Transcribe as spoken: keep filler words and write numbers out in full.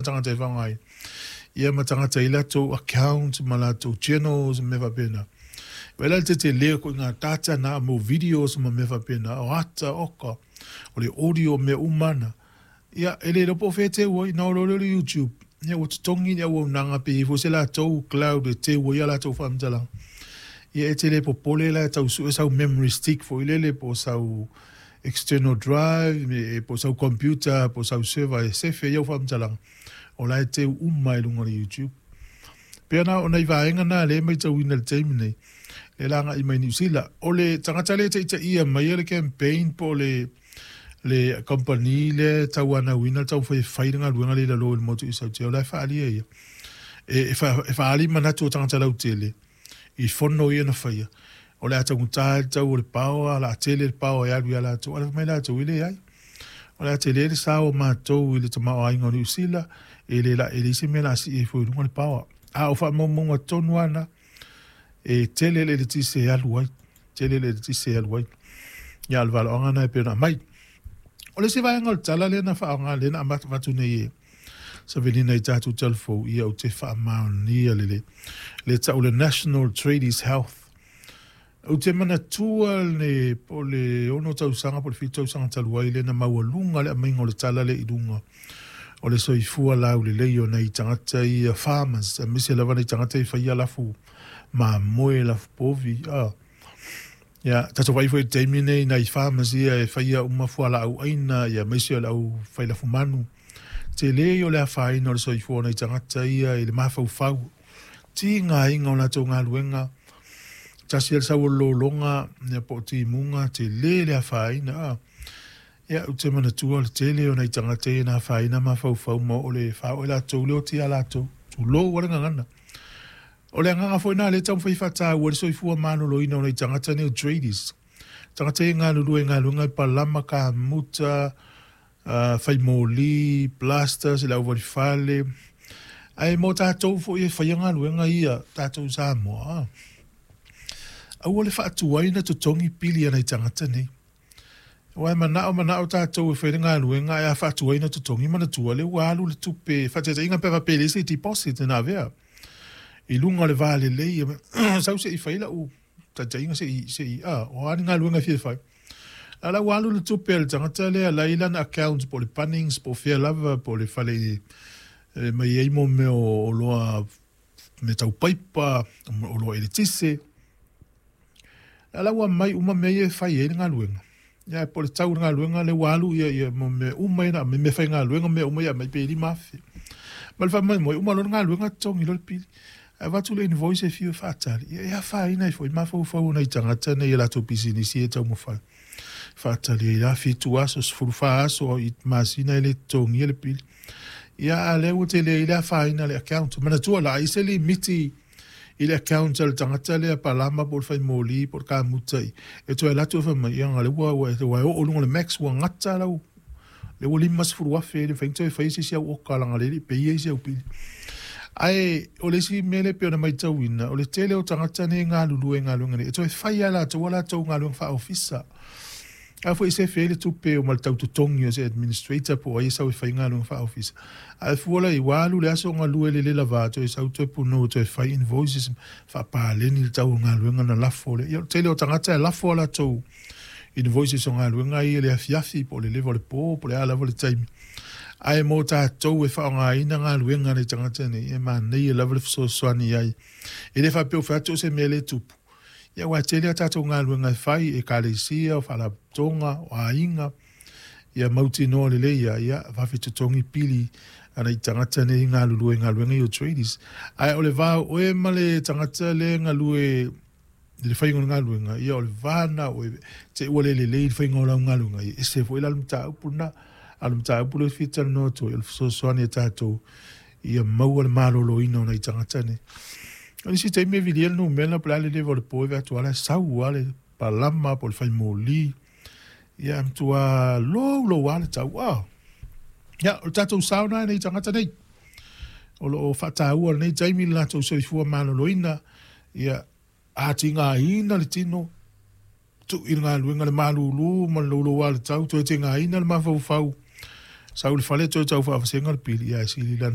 tagata e faaaoga ai ia ma tagata i latou account ma latou channels ma mea faapena. Vaai la i le tetele o ituaiga data na mo videos ma mea faapena, o ata, oka, o le audio, mea uma na. Ia, e le iloa po o fea e teu ai, na o loa lea o le YouTube, ia ua totogi le auaunaga pe i ai foi se latou cloud e teu ai a latou faamatalaga. Ia e te le popole la e tau sue sau memory stick foi lele po o sau external drive po o sau computer po o sau server e sefe ai au faamatalaga, o la e teu uma i luga o le YouTube. Pei ona o nai vaega na lea e matauina i le taimi nei, lea la agai mai Niu Sila. O le tagata lea e taitaia maia le campaign po o le le kamupani lea e tauanauina le taumafai e fai le galuega lea i lalo i le motu i Sautia, o la e faaalia ia. E, e, fa, e faaali manatu o tagata lautele i fono ia na faia, o le a taugata le tau o le paoa, o le a tele le paoa e alu ia latou, ae fai mai latou, e leai. O le a tele le sao o matou i le tamaoaiga o Niu Sila, e le la, e leai se mea o le a sii ai fua i luga le paoa. A o faamaumauga tonu lava na, e tele le eletise e alu ai, tele le eletise e alu ai. Ia, o le valoaga na e pei ona aumai. O le isi vaega o le tala lea na faaaoga lea na avatu nei e Savelina i tatou talafou, ia ou te faamaonia lelei. Le tau le National Tradies Health. Ou te manatua le po o le ono tausaga po o le fitu tausaga talu ai lea na maualuga le aumaiga o le tala lea i luga o le soifua laulelei o nai tagata ia farmers, aemaise lava nai tagata e faia lafu mamoe, lafu povi. Ah. Ia, tatou vaai foi i le taimi nei nai farmers ia e faia uma fualaau aina, ia aemaise o le au fai lafu manu. Tele ia o le afaina o le soifua o nai tagata ia i le mafaufau, tigaina o latou galuega, tasi le sau o le lologa, ia po o timuga, tele le afaina. Ah. Ia, ou te manatua le tele o nai tagata ia na afaina mafaufau ma o le faaoo e latou le oti ia latou. Tulou a le gagana. O le agaga foi lena lea e taumafai e faataua le soifua maloloina o nai tagata nei o tradies. Tagata ia e galulue i galuega e palama, kamuta, uh, fai moli, plasters, le auvalifale. Ae mo tatou foi e faia galuega ia, tatou i Samoa, aua le faatuai na totogi pili a nai tagata nei. Aua e manao manao tatou e fai le galuega, ae a faatuai na totogi, manatua lea ua alu le tupe. Faataitaiga pe faapea e leai se deposit na avea i luga o le va lelei, sau se i fai lau taitaiga se i, se i, a, o a ni galuega e fia fai. A la ua alu le tupe a le tagata lea la i lana account po o le Bunnings po o fea lava po o le fale e mai ai mo mea o oloa mea tau paipa, oloa eletise. A la ua mai uma mea ia e fai ai le galuega. Ia, po o le tau o le galuega lea ua alu ia, ia mo mea uma ia na mea faigaluega mea uma ia mai pe lima afe. Ma le faamoemoe, uma loa le galuega totogi loa le pili. Ae avatu le invoice e fiu e faatali. Ia e afaina ai foi mafaufau o nai tagata nei i latou pisinisi e taumafai. Faatali ai la fitu aso, sefulu fa aso i masina e le totogia le pili. Ia, a lea ua tele ai le afaina le account. Manatua la, ai se limiti i le account a le tagata lea palama po o le fai moli po o le kamuta i. E toe alu atu e fai mai, ia le ua ua ua oo i luga o le max ua gata lau le ua lima sefulu afe le mafai ona toe fai se isi au oka leaga le le peia isi au pili. Ae o le isi mea lea e pei ona matauina, o le tele o tagata nei e galulue i galuega nei, e toe fai lava latou a latou galuega faaofisa. A foi sefe ai le tupe o ma le tau totogi o se administrator po o ai e sau e fai galuega faaofisa. Ae fua la i ua alu le aso galue le le lava toe sau toe punou toe fai invoices faapaleni le tau o galuega na lafo le. Ia, o le tele o tagata e lafo a latou invoices o galuega ia i le afiafi po o le leva o le po po o le a lava le taimi. Ae mo tatou e faaaogaina galuega a nai tagata nei, e manaia lava le fesoasoani ai. E le faapea o fai atu o se mea le tupu. Ia, aua e tele a tatou galuega e fai, ekalesia, o faalapotopotoga, o aiga, ia mautinoa lelei ia, ia vave totogi pili a nai tagata nei galulue i galuega ia o tradies. Ae o le va o oe ma le tagata lea e galue i le faiga o le galuega, ia o le va lena o te ua le lelei le faiga o lau galuega, ia ese foi la le mataupu lena. A o le mataupu lea e fia talanoa atu ai, o le fesoasoani a tatou ia maua le maloloina o nai tagata nei. O nisi taimi e vilia le numera po o le a le leva o le po e vaai atu lava la e sau lava le palama po o le fai moli. Ia, e matua loulou lava le tau. Ah. Ia, o le tatou sao lena i nai tagata nei. O lo o faataua i lenei taimi le latou soifua maloloina, ia atigaina le tino, tuu i le galuega le malulu ma le loulou lava o le tau, toe tigaina le mafaufau, sau i le fale toe tau faavasega le pili, ia e sili lana